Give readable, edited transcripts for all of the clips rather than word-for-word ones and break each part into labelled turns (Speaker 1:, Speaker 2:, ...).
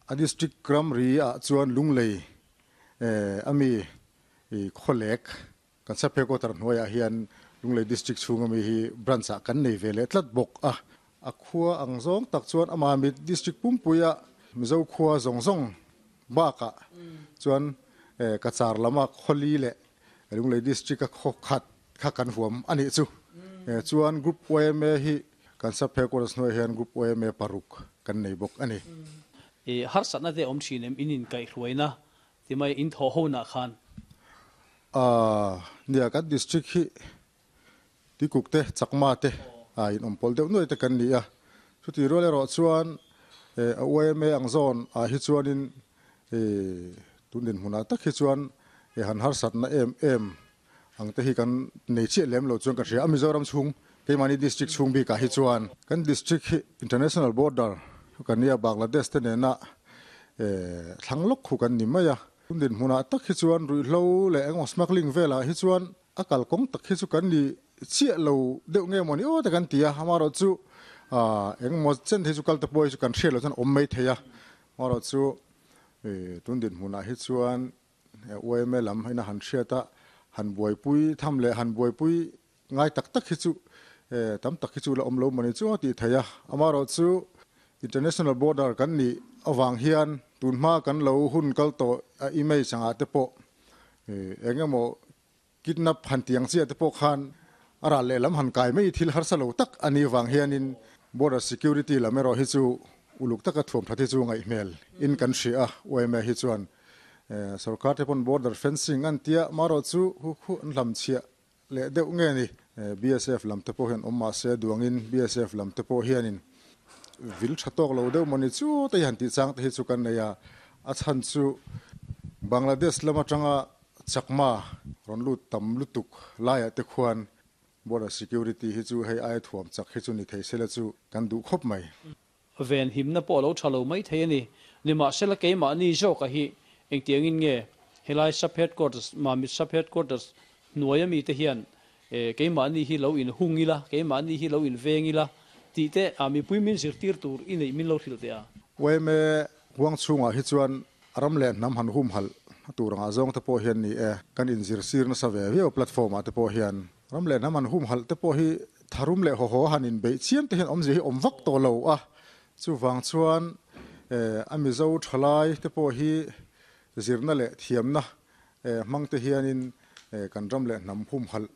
Speaker 1: A district ramri ah chuan Lunglei ami Khawlek kan sub headquarter hnuaiah hian Lunglei district chhung ami hi branch ah kan nei ve leh tlat bawk a. A khua ang zawng tak chuan amah mi district pumpuia Mizo khua zawng zawng bakah chuan Cachar lama Khawli leh Lunglei district a khaw khat kha kan huam a nih chu. Chuan Group yma hi kan sub headquarters hnuaiah hian Group yma paruk kan nei bawk a ni.
Speaker 2: I harsatna te awm thin em in inkaihhruaina ti mai in thawh honah khan?
Speaker 1: Aaa nia kan district hi Tikuk te Chakma te a in awm pawlh deuh nuai te kan ni a, chutih rual erawh chuan a yma ang zawn ah hi chuanin tun dinhmunah tak hi chuan han harsatna em em ang te hi kan nei chiah lem lo chuan ka hria a, Mizoram chhung keimahni district chhung bikah hi chuan kan district hi international border kan nia Bangladesh te nena thlang lawk khu kan ni mai a, tun dinhmunah tak hi chuan ruihhlo leh engemaw smuggling velah hi chuan a kalkawng tak hi chu kan ni chiah lo deuh nge mawni aw te kan ti a, amaherawhchu engemaw chen te hi chu kal te pawh hi chu kan hriat loh chuan awm mai thei a, amaherawhchu tun dinhmunah hi chuan Yma lam ina han hriat a, han buaipui tham leh han buaipui ngai tak tak hi chu tam tak hi chu la awm lo mawni chu a tih theih a. Amaherawhchu international border kan nih avang hian tun hma kan lo hun kal tawh a image angah te pawh eng emaw kidnap han tih ang chiah te pawh khan a ral lehlam han kai mai thil harsa lo tak a nih vang hianin border security lam erawh hi chu uluk taka thuam that hi chu ngaihhmel in kan hria a, yma hi chuan sorkar te pawn border fencing an tia marawh chu hu khu an hlam chhiah leh deuh nge ni. BSF lam te pawh hian awm mahse duangin BSF lam te pawh hianin vil tha tawk lo deuh mawni chu te hi han tih chang te hi chu kan nei a, a chhan chu Bangladesh lam atanga Chakma rawn lut tam lutuk laiah te khuan border security hi chu hei aia thuam chak hi chu ni thei sela chu kan duh khawp mai.
Speaker 2: Ven himna pawh a lo tha lo mai thei a ni. Nimahsela keimahni zawka hi engtiangin nge helai sub headquarters, Mamit sub headquarters hnuaia mite hian keimahni hi lo inhung ila, keimahni hi lo inveng ila tih te a mipui min zirtir tur i neih min lo hrilh teh a.
Speaker 1: Yma huang chhungah hi chuan ram leh hnam han humhalh tur angah zawng te pawh hian ni e, kan inzir sir nasa ve viau platform ah te pawh hian ram leh hnam han humhalh te pawh hi tharum leh hawhaw han inbeih chiam te hian awmzia hi awm vak tawh lo a, chuvang chuan a Mizo thalai te pawh hi zirna leh thiamna hmang te hianin kan ram leh hnam humhalh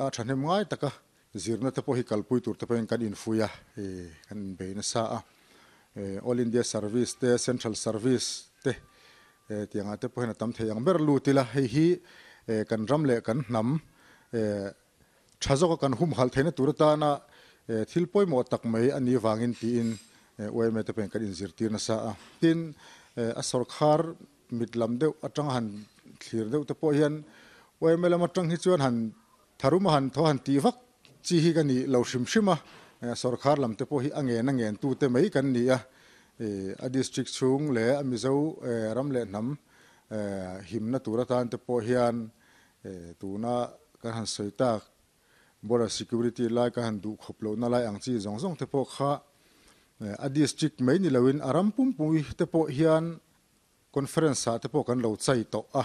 Speaker 1: a thahnem ngai taka zirna te pawh hi kalpui tur te pawhin kan infui a, kan inbei nasa a. All India Service te, Central Service te tiangah te pawh hian a tam thei ang ber lut ila, hei hi kan ram leh kan hnam tha zawka kan humhalh theihna tur atana thil pawimawh tak mai a nih vangin tiin yma te pawhin kan inzirtir nasa a. Tin, a sawrkhar mit lam deuh atanga han thlir deuh te pawh hian yma lam atang hi chuan han tharum a han thaw han tih vak chi hi ka nih lo hrim hrim a, sawrkhar lam te pawh hi a ngen a ngen tu te mai kan ni a, a district chhung leh a Mizo ram leh hnam himna tur atan te pawh hian tuna kan han sawi tak border security lai kan han duh khawp lohna lai ang chi zawng zawng te pawh kha a district mai ni loin a ram pumpui te pawh hian Conference ah te pawh kan lo chai tawh a,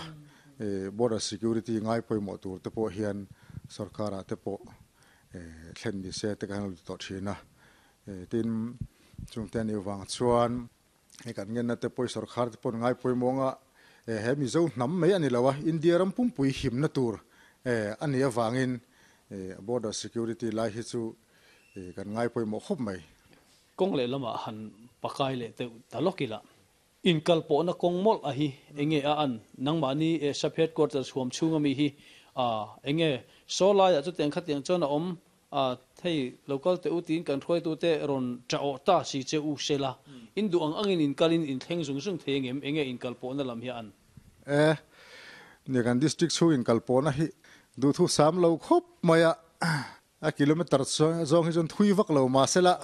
Speaker 1: border security ngai pawimawh tur te pawh hian sorkar ah te pawh thlen ni se te kan lo ti tawh thin a. Tin, chungte anih vang chuan hei kan ngenna te pawh hi sorkar te pawh ngai pawimawh anga he Mizo hnam mai a ni lo a, India ram pumpui himna tur a nih avangin border security lai hi chu kan ngai pawimawh khawp mai.
Speaker 2: Kawng lehlamah han pakai leh deuh ta lawk ila. Inkalpawhna kawng mawlh a hi enge a an? Nangmahni e sub headquarters huam chhung ami hi a enge? Saw laiah chutiang khatiang chuan a awm a thei lo kal teh u tiin kan hruaitute rawn ṭah awh ta si che u sela in duh ang angin inkalin inthleng zung zung thei angem? Enge inkalpawhna lam hi a an?
Speaker 1: E, nia kan district chhung inkalpawhna hi duhthu sam lo khawp mai a. A kilometer zawng hi chuan thui vak lo mahsela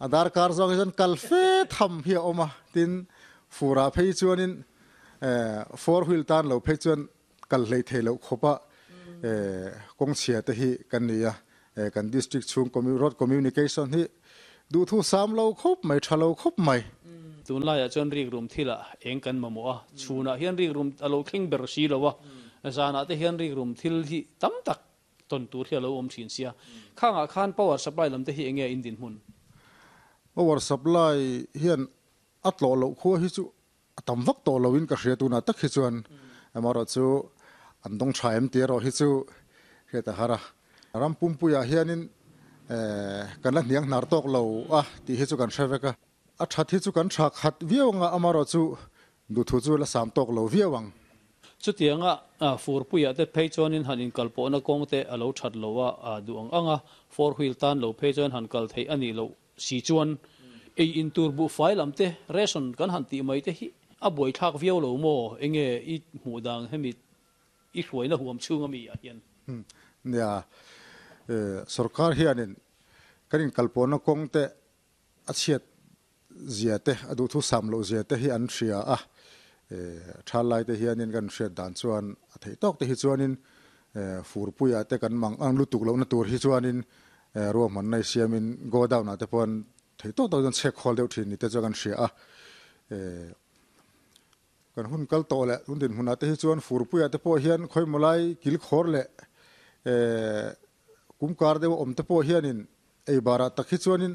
Speaker 1: a darkar zawng hi chuan kal fe tham hi a awm a, tin furah phei chuanin four wheel tan lo phei chuan kal hlei thei loh khawpa kawng chhia te hi kan ni a, kan district chhung road communication hi duhthu sam lo khawp mai, tha lo khawp mai.
Speaker 2: Tunlaiah chuan rikrum thilah eng kan mamawh a, chhunah hian rikrum a lo thleng ber si lo a, zanah te hian rikrum thil hi tam tak tawn tur hi a lo awm thin sia. Khangah khan power supply lam te hi enge in dinhmun?
Speaker 1: Power supply hian a tlawh loh khua hi chu a tam vak tawh lo in ka hria tunah tak hi chuan amaherawh chu an dawng tha em tih erawh hi chu hriat a har a. Ram pumpuiah hianin kan la hniang hnar tawk lo a tih hi chu kan hre vek a. A that hi chu kan tha khat viau ang a, amaherawh chu duhthu chu la sam tawk lo viau ang.
Speaker 2: Chutianga furpuiah te phei chuanin han inkalpawhna kawng te a lo that lo a duh ang ang a, four wheel tan lo phei chuan han kal theih a nih loh si chuan ei in tur buhfai lam te ration kan han tih mai te hi a buaithlak viau lo maw? Enge i hmuh dang hemi i hruaina huam chhung ami ah hian?
Speaker 1: Nia, sorkar hianin kan inkalpawhna kawng te a chhiat zia te, a duhthu sam loh zia te hi an hria a, tha lai te hianin kan hriat dan chuan a theih tawk te hi chuanin furpuiah te kan mang ang lutuk lohna tur hi chuanin ruahmanna i siamin godown ah te pawh an theih tawk tawk chuan chhek khawl deuh thin ni te chuan kan hria a. Kan hun kal tawh leh tun dinhmunah te hi chuan furpuiah te pawh hian khawimaw lai kilkhawr leh Kumkar deuh a awm te pawh hianin ei barah tak hi chuanin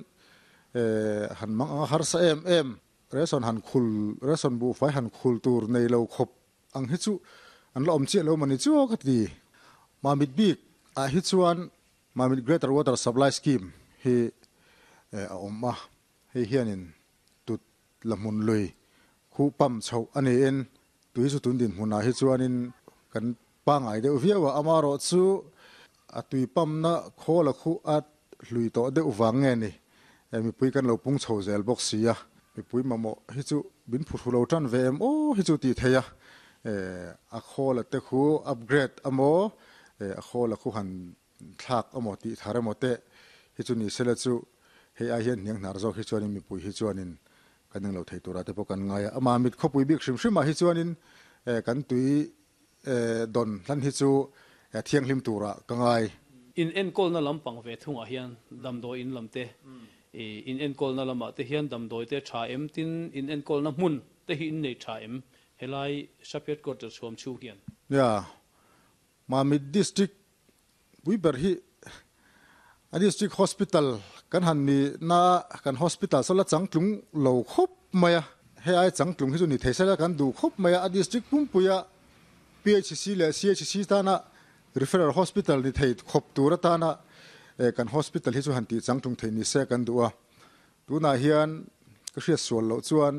Speaker 1: han mang anga harsa em em, ration han khul, ration buhfai han khul tur nei lo khawp ang hi chu an la awm chiah lo mawni chu ka ti. Mamit bik ah hi chuan Mamit Greater Water Supply Scheme hi a awm a, hei hianin tut la hmun lui khuh pam chhoh a niin tui chu tun dinhmunah hi chuanin kan pangai deuh viau a, amaherawh chu a tui pamna khawl a khuh a hlui tawh deuh vang nge ni, mipui kan lo pung chho zel bawk si a, mipui mamawh hi chu min phuhru lo tan ve em aw hi chu tih theih a, a khawl a te khu upgrade amaw a khawl a khu han thlak amaw tih thar emaw teh hi chu ni sela chu hei ai hian hniang hnar zawk hi chuanin mipui hi chuanin kan englo thei turah te pawh kan ngai a, amah mit khawpui bik hrim hrimah hi chuanin kan tui dawn hlan hi chu thianghlim turah ka ngai.
Speaker 2: In enkawlna lampang ve thungah hian damdawi in lam te, in enkawlna lamah te hian damdawi te tha em tin in enkawlna hmun te hi in nei tha em helai Sub Headquarters huam chhung hian?
Speaker 1: Nia, Mamit District pui ber hi a District Hospital kan han ni na kan hospital saw la changtlung lo khawp mai a, hei ai changtlung hi chu ni thei sela kan duh khawp mai a, a District pumpuia PHC leh CHC tana Referral Hospital ni thei khawp tur atana kan hospital hi chu han tih changtlung thei ni se kan duh a, tunah hian ka hriat sual loh chuan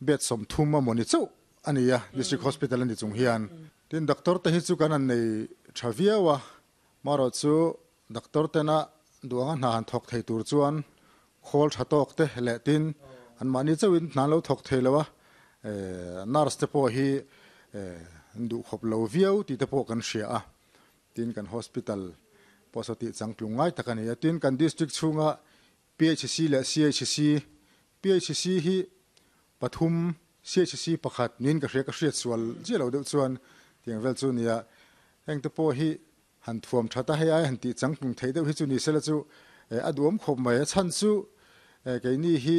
Speaker 1: bed 30 a maw ni chauh a ni a, District Hospital a ni chung hian. Tin, doctor te hi chu kan han nei tha viau a, marawh chu doctor tena duh anga hna han thawk thei tur chuan khawl tha tawk te leh tin anmahni chauhin hna an lo thawk thei lo a, nurse te pawh hi an duh khawp lo viau tih te pawh kan hria a, tin kan hospital pawh saw tih changtlung ngai tak a ni a, tin kan district chhunga PHC leh CHC, PHC hi pathum, CHC pakhat niin ka hria, ka hriat sual chiah lo deuh chuan tiang vel chu nia. Heng te pawh hi han thuam that a, hei ai han tih changtlung theih deuh hi chu ni sela chu a duhawm khawp mai. A chhan chu keini hi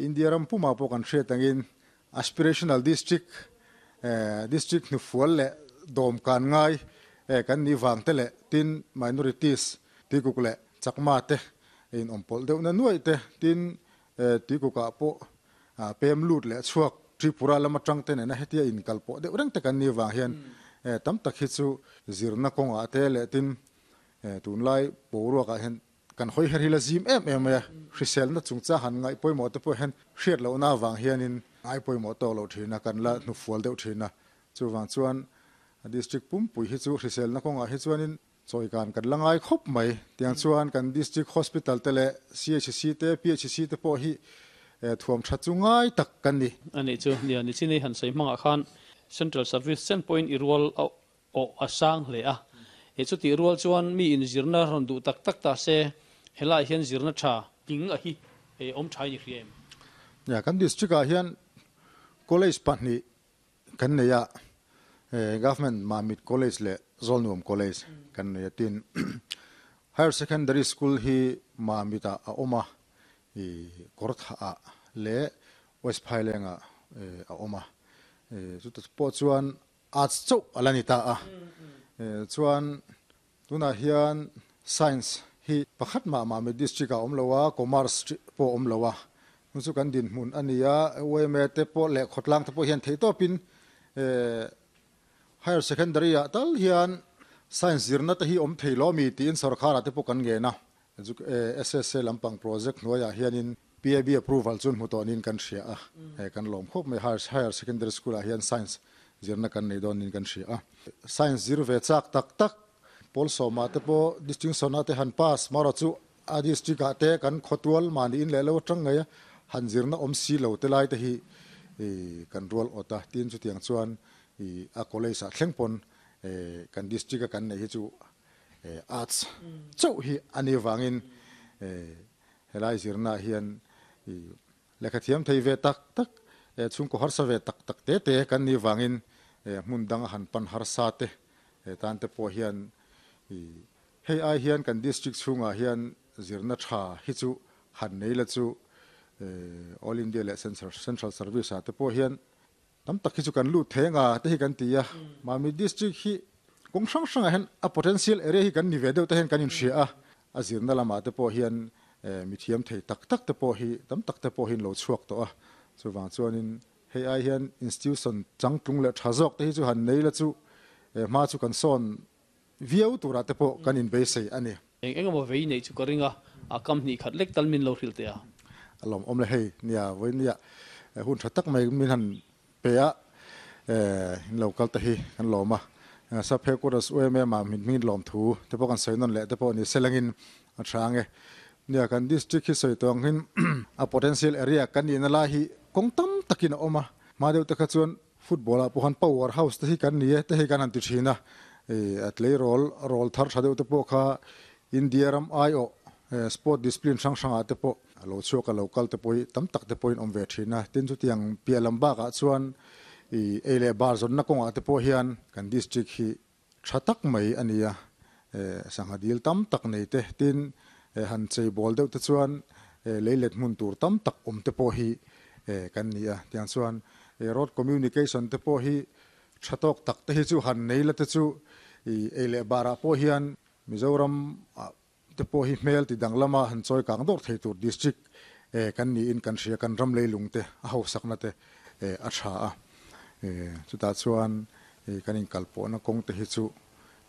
Speaker 1: India ram pumah pawh kan hriat angin Aspirational District, District hnufual leh dawmkan ngai kan nih vang te leh tin Minorities, Tuikuk leh Chakma te in awm pawlh deuh na nuaih te, tin Tuikukah pawh pem lut leh chhuak Tripura lam atang te nena hetia inkal pawh deuh reng te kan nih vang hian tam tak hi chu zirna kawngah te leh tin tunlai boruakah hian kan hawi her hi la zim em em mai a, hriselna chungchang han ngaih pawimawh te pawh hian hriat lohna avang hianin ngai pawimawh tawk loh thin a, kan la hnufual deuh thin a, chuvang chuan District pumpui hi chu hriselna kawngah hi chuanin Chawikan kan la ngai khawp mai. Tiang chuan kan District Hospital te leh CHC te, PHC te pawh hi thuam that chu ngai tak kan ni.
Speaker 2: A nih chu, nia nichin i han sawi hmangah khan Central Service chen pawhin i rual awh a sang hle a. He chutih rual chuan mi in zirna rawn duh tak tak ta se, helaiah hian zirna tha tling a hi awm tha in i hria em?
Speaker 1: Nia, kan District ah hian College pahnih Kan nei a, Government Mamit College leh Zawlnuam College kan nei a tin Higher Secondary School hi Mamit ah a awm a, i Kawrthah ah leh West Phailengah a awm a. Chuta pawh chuan Arts chauh a la ni ta a. Chuan tunah hian Science hi pakhat mah Mamit District ah a awm lo a, Commerce pawh a awm lo a. Chu chu kan dinhmun a ni a, yma te pawh leh khawtlang te pawh hian theihtawpin Higher Secondary ah tal hian Science zirna te hi awm thei lo ami tiin sorkar ah te pawh kan ngen a, SSA lampang project hnuaiah hianin PAB approval chu hmu tawh niin kan hria a, kan lawm khawp mai. Higher Secondary School ah hian Science zirna kan nei dawn niin kan hria a. Science zir ve chak tak tak pawl sawmah te pawh distinction ah te han pass marawh chu a district ah te kan khawtual mahni in leh lo atang ngei a han zirna awm si lo te lai te hi kan rual awt a, tin chutiang chuan I a college ah thleng pawn kan district a kan neih hi chu arts chauh hi a nih vangin helai zirna ah hian i lehkha thiam thei ve tak tak chhungkaw harsa ve tak tak te te kan nih vangin hmun dang a han pan harsa te tan te pawh hian i hei ai hian kan district chhungah hian zirna tha hi chu han nei la chu All India leh Central Service ah te pawh hian Tam tak hi chu kan lut thei anga te hi kan ti a, Mami District hi kawng hrang hrangah hian a potential area hi kan ni ve deuh te hian kan inhria a, a zirna lamah te pawh hian mithiam thei tak tak te pawh hi tam tak te pawh hi an lo chhuak tawh a, chuvang chuanin hei ai hian institution changtlung leh tha zawk te hi chu han nei la chu hma chu kan sawn viau turah te pawh kan inbeisei a ni.
Speaker 2: Eng eng emaw vei neih chu ka ring a, a kam hnih khat lek tal min lo hrilh teh a.
Speaker 1: A lawmawm le hei, nia vawinia hun tha tak mai min han pe a, in lo kal te hi kan lawm a, Sap Headquarters UMM ah min hmingin lawm thu te pawh kan sawi nawn leh te pawh ni selangin a tha ang e. Nia kan district hi sawi tawh ang hin a potential area kan nihna lai hi kawng tam takin a awm a, hma deuh te kha chuan Football ah pawh khan power house te hi kan ni e te hei kan han ti thin a, a tleirawl rawl thar tha deuh te pawh kha India ram aiawh sport discipline hrang hrang ah te pawh a lo chhuak a lo kal te pawh hi tam tak te pawhin awm ve thin a, tin chutiang piah lam bakah chuan ih ei leh bar zawnna kawngah te pawh hian kan district hi tha tak mai a ni a, sangha dil tam tak nei te tin han chei bawl deuh te chuan lei let hmun tur tam tak awm te pawh hi kan ni a, tiang chuan road communication te pawh hi tha tawk tak te hi chu han nei la te chu ei leh barah pawh hian Mizoram ah te pawh hi hmel ti danglam a han chawi kang dawr thei tur district kan niin kan hria, kan ram leilung te a hausakna te a tha a, chutah chuan kan inkalpawhna kawng te hi chu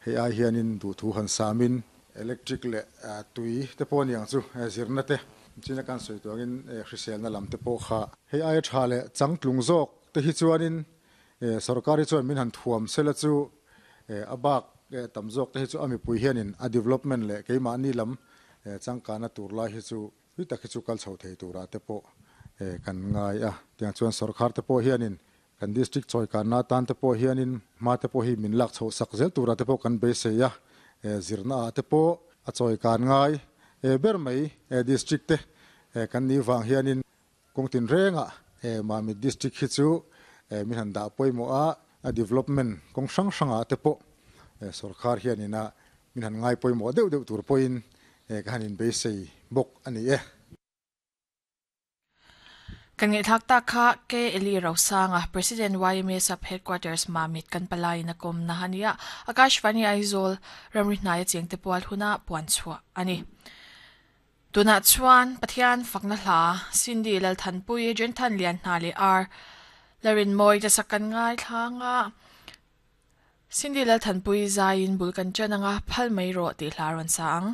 Speaker 1: hei ai hianin duhthu han samin electric leh tui te pawh a ni ang chu zirna te china kan sawi tur angin hriselna lam te pawh kha hei aia tha leh changtlung zawk te hi chuanin Sorkar hi chuan min han thuam sela chu a bak tam zawk te hi chu a mipui hianin a development leh keimahni lam changkana tur lai hi chu tui tak hi chu kal chho thei turah te pawh kan ngai a. Tiang chuan sorkar te pawh hianin kan district chawikanna atan te pawh hianin hma te pawh hi min lak chhoh sak zel turah te pawh kan beisei a. Zirna ah te pawh a chawikan ngai ber mai district te kan nih vang hianin Kawng tinrengah Mamit District hi chu min han dah pawimawh a, a development kawng hrang hrangah te pawh sorkar hianin a min han ngai pawimawh deuh deuh tur pawhin ka han inbeisei bawk a ni e.
Speaker 3: Kan ngaihthlak tak kha K. Eli Rosanga, President YMA Sub Headquarters Mamit kan palaiin a kawmna a ni a, Akashvani Aizawl ramri hnaia chengte pual huna puan chhuah a ni. Tunah chuan Pathian fakna hla Cindy Lalthanpui, Jenthan Lianhna leh Ar Larinmawi te sak kan ngaithlang a, Cindy Lalthanpui zaiin bul kan ṭan anga phal mai rawh tih hla a rawn sa ang.